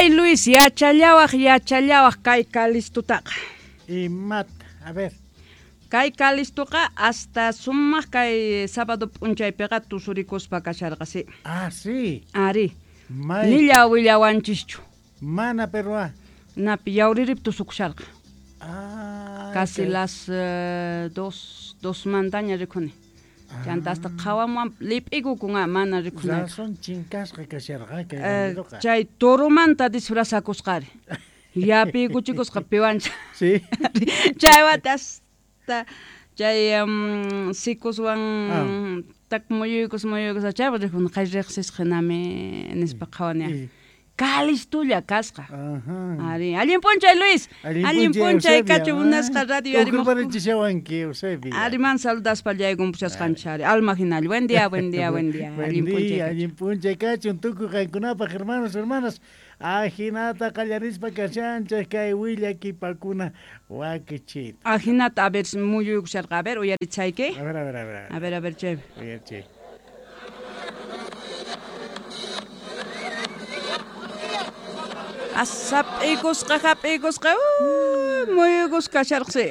Ay Luis, yachallawaj, yachallawaj kay Calistutaqa. Imata, a ver. Kay Calistuqa hasta sumaq kay sábado p'unchaypiqa tusurikuspa kasharqa, sí. Ah, sí. Ari. May... Nilla willawanchischu. Mana perua. Napi yawririp tusukusharqa. Ah, Casi kay- las 2 mantaña rikuni. Chanta hasta qhawamuwan lip'ikukun mana rikunaypaq. Razón chinkasqa kasharqa kay bandidoqa. Chay toromanta disfrazakusqari. Yapiykuchikusqa piwancha. Sí. Chaywata hasta chay sikuswan tak muyuykus muyuykus chaypa rikuni qay riqsisqa hinami nispa qhawani. Calistulla kasqa. Ajá. Ari, allin p'unchay Luis. Allin p'unchay Eusebia. kachu munasqa radio arimuq. Ukurparichishawanki, Eusebia. Ariman saludaspa llaykunpushasqanchis ari. Alma hinalla. Buen día, buen día, buen día. Buen Allin p'unchay día, kachu. allin p'unchay kachun tukuy qankunapaq hermanos, hermanas. Ajinata qallarispa kashanchik kay willakipakuna wakichita. Ajinata a ver muyuykusharqa. A ver, uyarichayki. A ver, a ver, a ver. A ver, a ver, chay. Uyarichi. Asap'ikusqa, hap'ikusqa, muyuykus kasharqasi.